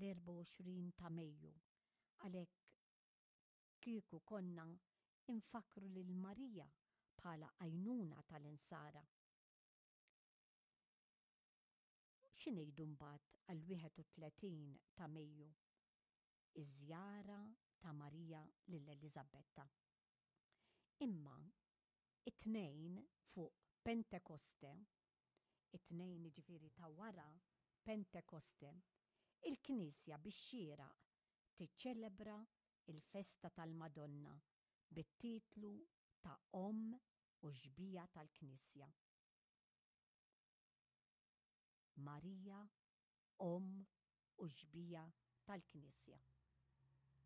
l-24 ta' Mejju, għalhekk kieku konna nfakkru lil Marija bħala għajnuna tal-insara. Xi ngħidu mbagħad għall-31 ta' Mejju, iż-żjara ta' Marija lil Eliżabetta. Imma it-Tnejn fuq Pentekoste, it-Tnejn jiġifieri ta' wara Pentekoste, il-Knisja bix-xieraq tiċċelebra l-festa tal-Madonna bit-titlu ta' Omm u Xbieha tal-Knisja. Marija, Omm u Xbieha tal-Knisja.